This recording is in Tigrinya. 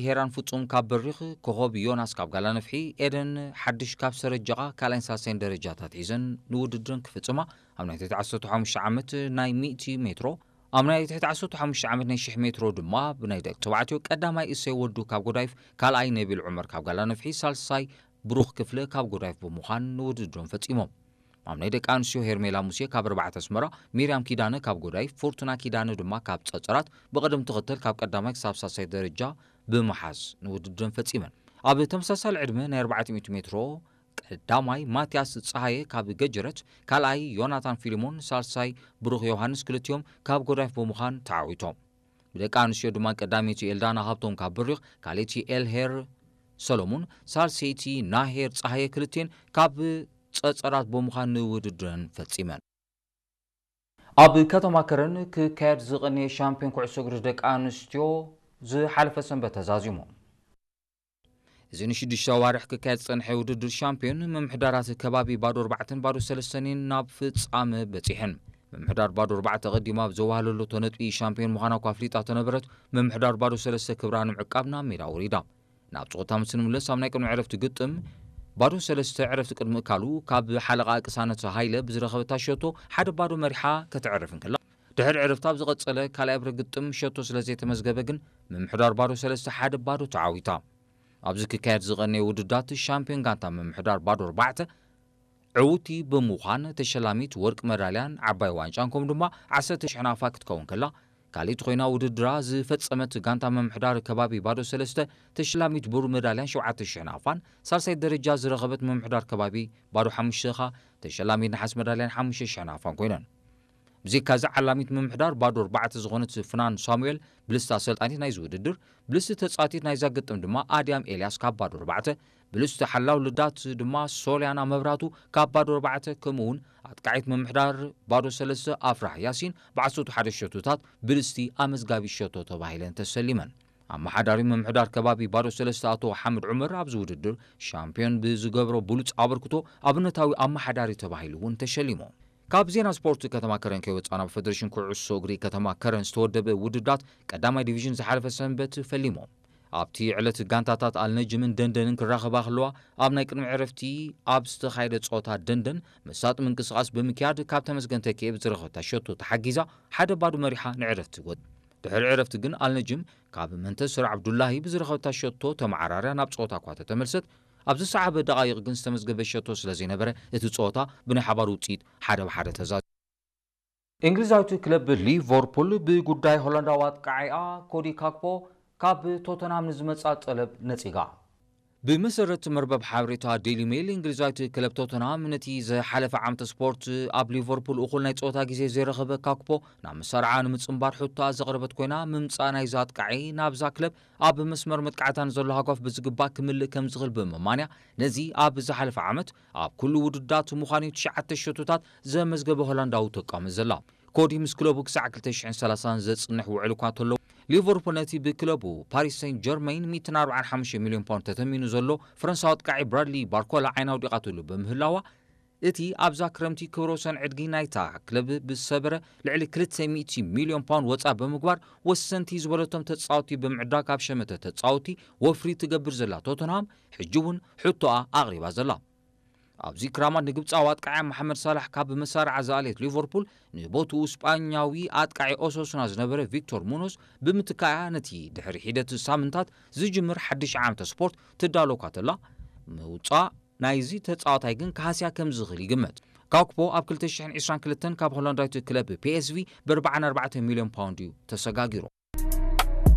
ሄራን ፍጹም ካብ በሪኽ፣ ኮኾብ ዮናስ ካብ ጋላ ነፍሒ፣ ኤደን ሓድሽ ካብ ሰረጀቓ ካልኣይን ሳልሳይን ደረጃታት ሒዘን ንውድድረን ክፍጽማ ኣብ ናይ ትሕቲ ዓሰርተ ሓሙሽተ ዓመት ናይ ሚእቲ ሜትሮ፣ ኣብ ናይ ትሕቲ ዓሰርተ ሓሙሽተ ዓመት ናይ ሽሕ ሜትሮ ድማ ብናይ ደቂ ተባዕትዮ ቀዳማይ እሰይ ወዱ ካብ ጎዳይፍ፣ ካልኣይ ነቢል ዑመር ካብ ጋላ ነፍሒ፣ ሳልሳይ ብሩኽ ክፍለ ካብ ጎዳይፍ ብምዃን ንውድድሮም ፈጺሞም። ኣብ ናይ ደቂ ኣንስትዮ ሄርሜላ ሙሴ ካብ ኣርባዕተ ኣስመራ፣ ሚርያም ኪዳነ ካብ ጎዳይፍ፣ ፎርቱና ኪዳነ ድማ ካብ ጸጸራት ብቕደም ተኸተል ካብ ቀዳማይ ክሳብ ሳልሳይ ደረጃ ብምሓዝ ንውድድረን ፈጺመን። ኣብ ተመሳሳሊ ዕድመ ናይ ኣርባዕተ ሚእቲ ሜትሮ ቀዳማይ ማትያስ ጸሃየ ካብ ገጀረት፣ ካልኣይ ዮናታን ፊልሞን፣ ሳልሳይ ብሩኽ ዮሃንስ ክልቲኦም ካብ ጎዳይፍ ብምዃን ተዓዊቶም። ብደቂ ኣንስትዮ ድማ ቀዳመይቲ ኤልዳና ሃብቶም ካብ በሪኽ፣ ካልኣይቲ ኤልሄር ሰሎሙን፣ ሳልሰይቲ ናሄር ጸሃየ ክልቲኤን ካብ ጸጸራት ብምዃን ንውድድረን ፈጺመን። ኣብ ከተማ ከረን ክካየድ ዝቐነየ ሻምፒዮን ኩዕሶ እግሪ ደቂ ኣንስትዮ ዝሓለፈ ሰንበት ተዛዚሙ። እዚ ንሽዱሽተ ኣዋርሕ ክካየድ ዝጸንሐ ውድድር ሻምፒዮን፣ ምምሕዳራት ከባቢ ባዶ ኣርባዕተን ባዶ ሰለስተን ናብ ፍጻመ በጺሐን። ምምሕዳር ባዶ ኣርባዕተ ቀዲማ ኣብ ዘዋህለለቶ ነጥቢ ሻምፒዮን ምዃና እኳ ኣፍሊጣ ተነበረት፣ ምምሕዳር ባዶ ሰለስተ ክብራ ንምዕቃብ ናብ ሜዳ ወሪዳ። ናብ ጸወታ ምስ ንምለስ ኣብ ናይ ቅድሚ ዕረፍቲ ግጥም፣ ባዶ ሰለስተ ዕረፍቲ ቅድሚ እካሉ ካብ ሓለቓ ቅሳነት ሃይለ ብዝረኸበታ ሸቶ ሓደ ባዶ መሪሓ ከተዕርፍ እንከላ፣ ድሕሪ ዕረፍቲ ኣብ ዝቐጸለ ካልኣይ ኣብረ ግጥም ሸቶ ስለ ዘይተመዝገበ ግን ምምሕዳር ባዶ ሰለስተ ሓደ ባዶ ተዓዊታ። ኣብዚ ክካየድ ዝቐነየ ውድዳት ሻምፒዮን ጋንታ ምምሕዳር ባዶ ኣርባዕተ ዕውቲ ብምዃን ተሸላሚት ወርቂ መዳልያን ዓባይ ዋንጫን ከምኡ ድማ ዓሰርተ ሽሕ ናፋ ክትከውን ከላ፣ ካልኣይቲ ኮይና ውድድራ ዝፈጸመት ጋንታ ምምሕዳር ከባቢ ባዶ ሰለስተ ተሸላሚት ብሩር መዳልያን ሸውዓተ ሽሕ ናፋን፣ ሳልሳይ ደረጃ ዝረኸበት ምምሕዳር ከባቢ ባዶ ሓሙሽተ ኸኣ ተሸላሚት ነሓስ መዳልያን ሓሙሽተ ሽሕ ናፋን ኮይነን። ብዘይካዚ ዓላሚት ምምሕዳር ባዶ ኣርባዕተ ዝኾነት ፍናን ሳሙኤል፣ ብልስቲ ኣሰልጣኒት ናይዚ ውድድር፣ ብልስቲ ተጻዋቲት ናይዛ ግጥም ድማ ኣድያም ኤልያስ ካብ ባዶ ኣርባዕተ፣ ብልስቲ ሓላው ልዳት ድማ ሶልያና መብራቱ ካብ ባዶ ኣርባዕተ፣ ከምኡ እውን ኣጥቃዒት ምምሕዳር ባዶ ሰለስተ ኣፍራህ ያሲን ብዓሰርተ ሓደ ሸቶታት ብልስቲ ኣመዝጋቢ ሸቶ ተባሂለን ተሰሊመን። ኣመሓዳሪ ምምሕዳር ከባቢ ባዶ ሰለስተ ኣቶ ሓምድ ዑመር ኣብዚ ውድድር ሻምፒዮን ብዝገብሮ ብሉጽ ኣበርክቶ ኣብነታዊ ኣመሓዳሪ ተባሂሉ እውን ተሸሊሙ። ካብ ዜና ስፖርት ከተማ ከረን ከይወጻና፣ ብፌደሬሽን ኩዕሶ እግሪ ከተማ ከረን ዝተወደበ ውድዳት ቀዳማይ ዲቪዥን ዝሓለፈ ሰንበት ፈሊሞም። ኣብቲ ዕለት ጋንታታት ኣልነጅምን ደንደንን ክራኸባ ከለዋ፣ ኣብ ናይ ቅድሚ ዕረፍቲ ኣብ ዝተኻየደ ጸወታ ደንደን መሳጢ ምንቅስቓስ ብምክያድ ካብ ተመስገን ተኪኤ ብዝረኸበታ ሸቶ ተሓጊዛ ሓደ ባዶ መሪሓ ንዕረፍቲ ወጥ። ድሕሪ ዕረፍቲ ግን ኣልነጅም ካብ መንተስር ዓብዱላሂ ብዝረኸበታ ሸቶ ተመዓራርያ ናብ ጸወታ እኳ ተተመልሰት፣ ኣብ ዝሰዓበ ደቓይቕ ግን ዝተመዝገበ ሸቶ ስለ ዘይነበረ፣ እቲ ጸወታ ብናይ ሓባር ውጽኢት ሓደ ብሓደ ተዛዚሙ። እንግሊዛዊት ክለብ ሊቨርፑል ብጉዳይ ሆላንዳዊ ኣጥቃዒኣ ኮዲ ካክፖ ካብ ቶተንሃም ንዝመጻ ጠለብ ነጺጋ። ብመሰረት መርበብ ሓበሬታ ዴይሊ ሜል፣ እንግሊዛዊት ክለብ ቶተንሃም ነቲ ዝሓለፈ ዓመት ስፖርት ኣብ ሊቨርፑል እኹል ናይ ጸወታ ግዜ ዘይረኸበ ካክፖ ናብ መሳርዓ ንምጽንባር ሕቶኣ ዘቕረበት ኮይና፣ ምምጻእ ናይዛ ኣጥቃዒ ናብዛ ክለብ ኣብ መስመር መጥቃዕታ ንዘሎ ሃጓፍ ብዝግባእ ክምልእ ከም ዝኽእል ብምእማንያ፣ ነዚ ኣብ ዝሓለፈ ዓመት ኣብ ኩሉ ውድዳት ምዃኑ ትሽዓተ ሸቶታት ዘመዝገበ ሆላንዳዊ ተቃሚ ዘላ። ኮዲ ምስ ክለቡ ክሳዕ ክልተ ሽሕን ሰላሳን ዘጽንሕ ውዕል እኳ እንተለዎ፣ ሊቨርፑል ነቲ ብክለቡ ፓሪስ ሴንት ጀርመይን ሚእትን ኣርባዓን ሓሙሽተ ሚልዮን ፓውንድ ተተሚኑ ዘሎ ፈረንሳዊ ኣጥቃዒ ብራድሊ ባርኮላ ዓይና ኣውዲቓትሉ ብምህላዋ፣ እቲ ኣብዛ ክረምቲ ክብረ ወሰን ዕድጊ ናይታ ክለብ ብዝሰበረ ልዕሊ ክልተ ሚእቲ ሚልዮን ፓውንድ ወጻ ብምግባር፣ ወሰንቲ ዝበለቶም ተጻወቲ ብምዕዳግ ኣብ ሸመተ ተጻወቲ ወፍሪ ትገብር ዘላ ቶተንሃም፣ ሕጂ እውን ሕቶኣ ኣቕሪባ ዘላ። ኣብዚ ክራማት ንግብጻዊ ኣጥቃዒ መሓመድ ሳላሕ ካብ መሳርዓ ዝኣለየት ሊቨርፑል፣ ንቦትኡ ስጳኛዊ ኣጥቃዒ ኦሶሱና ዝነበረ ቪክቶር ሙኖስ ብምትካእያ፣ ነቲ ድሕሪ ሒደት ሳምንታት ዝጅምር ሓድሽ ዓመተ ስፖርት ትዳሎ እኳ ተላ፣ ምውጻእ ናይዚ ተጻዋታይ ግን ክሃስያ ከም ዝኽእል ይግመት። ካክፖ ኣብ ክልተ ሽሕን ዕስራን ክልተን ካብ ሆላንዳዊት ክለብ ፒ ኤስ ቪ ብ ኣርባዓን ኣርባዕተን ሚልዮን ፓውንድ እዩ ተሰጋጊሩ።